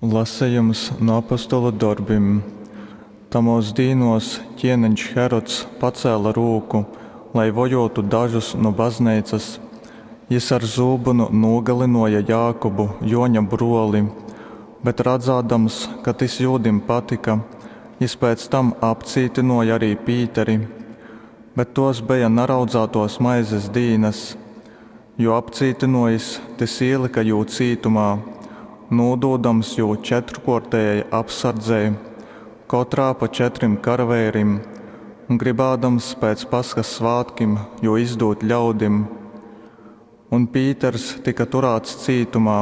Lasejums nu Apostolu dorbim. Tamōs dīnōs kēneņš Herods pacēle rūku, lai vojōtu dažus nu Bazneicas. Jys ar zūbynu nūgalynōja Jākubu, Jōņa brōli. Bet radzādams, ka tys jūdim patyka, jys pēc tam apcītynōja arī Pīteri. Bet tōs beja naraudzātōs maizes dīnas. Jū apcītynōjis, tys īlyka jū cītumā, nūdūdams jū četrkōrtejai apsardzei, kotrā pa četrim karaveirim, un grybādams pēc Pashas svātkim jū izdūt ļaudim. Un Pīters tyka turāts cītumā,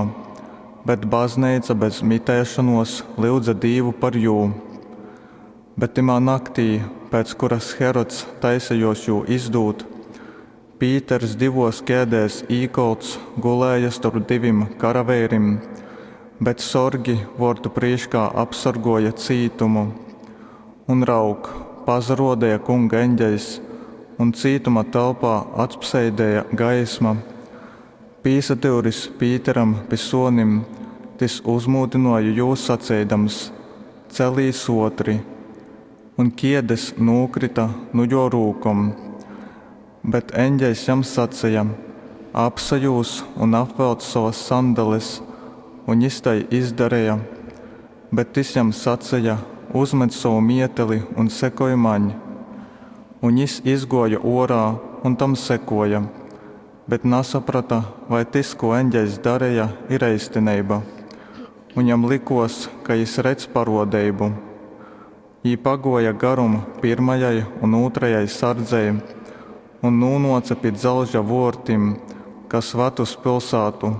bet Bazneica bez mitēšonōs lyudze Dīvu par jū. Bet tymā naktī, pēc kuras Herods taisejōs jū izdūt, Pīters divōs kēdēs īkolts gulēja storp divim karaveirim, bet sorgi vōrtu prīškā apsorgōja cītumu. Un raug, pasarōdeja Kunga eņgeļs, un cītuma telpā atspseidēja gaisma. Pīsadyuris Pīteram pi sōnim, tys uzmūdynōja jū saceidams, Celīs ōtri! Un kiedes nūkryta nu jō rūkom. Bet eņgeļs jam saceja, Apsajūz un apvelc sovas sandales. Un jys tai izdareja. Bet tys jam saceja, Uzmet sovu mieteli un sekoj maņ. Un jys izgōja ōrā un tam sekōja, bet nasaprota, vai tys, kū eņgeļs dareja, ir eistineiba. Un jam lykōs, ka jys redz parōdeibu. Jī pagōja garum pyrmajai un ūtrajai sardzei un nūnōce pi dzelža vōrtim, kas vad uz pilsātu.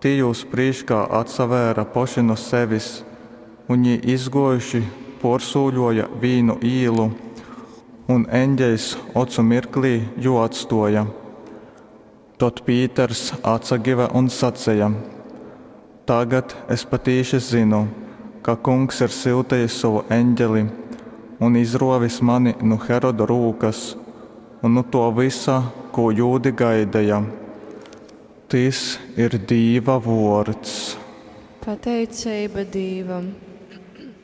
Tī jūs prīškā atsavēra poši nu sevis, un jī izgōjuši pōrsūļōja vīnu īlu, un eņgeļs ocu mirklī jū atstōja. Tod Pīters atsagyva un saceja, Tagad es patīši zynu, ka Kungs ir syutejis sovu eņgeli un izrōvis mani nu Heroda rūkas un nu tō vysa, kū jūdi gaideja. Tys ir Dīva vōrds. Pateiceiba Dīvam.